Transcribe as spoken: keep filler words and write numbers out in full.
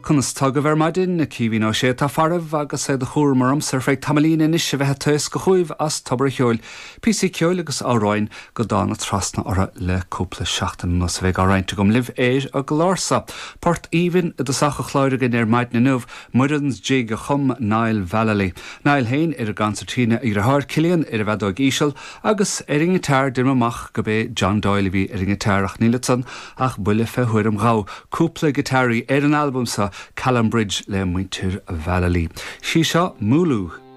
Conas tá agaibh ar maidin? Caoimhín Ó Sé atá faraibh agus é de chúram ormsa ar feadh tamaillín anois a bheith ag taoscadh chugaibh as Tobar an Cheoil, píosaí ceoil agus amhráin go dtána trasna orthu le cúpla seachtain anuas a bheidh á roinnt agam libh ar an gclár seo. Port aoibhinn i dtosach an chláir againn ar maidin inniu, Muireann's Jig a chum Niall Vallely. Niall féin ar an gconsairtín, a dheartháir Cillian ar an bhfeadóg íseal agus ar an ngiotár deir mé amach gurb é John Doyle a bhí ar an ngiotár ach níl ansan ach buille fé thuairim dhomh. Cúpla giotáraí ar an albam seo Callan Bridge le muintir Vallely. Sí seo Mooloo.